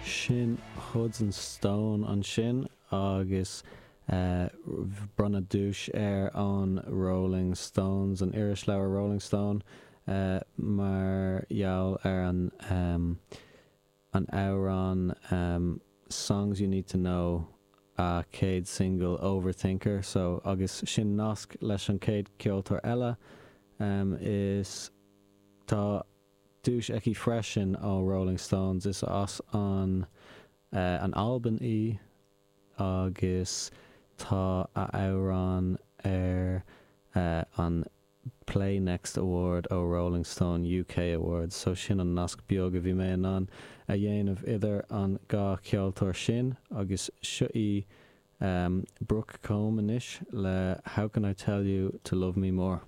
Sin Hudson Stone ansin agus bronnadh duais air ón Rolling Stones, an irisleabhar Rolling Stone, mar gheall ar an an amhrán Songs You Need To Know, a chéad singil Overthinker. So, agus sin nasc leis an chéad ceoltóir eile, is tá duais aici freisin ó Rolling Stones. Is as an an Albain í agus tá a amhrán ar an Play Next Award ó Rolling Stone UK Awards. So sin an nasc beag a bhí mé in ann a dhéanamh idir an dhá cheoltóir sin. Agus seo í Brooke Combe anois le How Can I Tell You To Love Me More.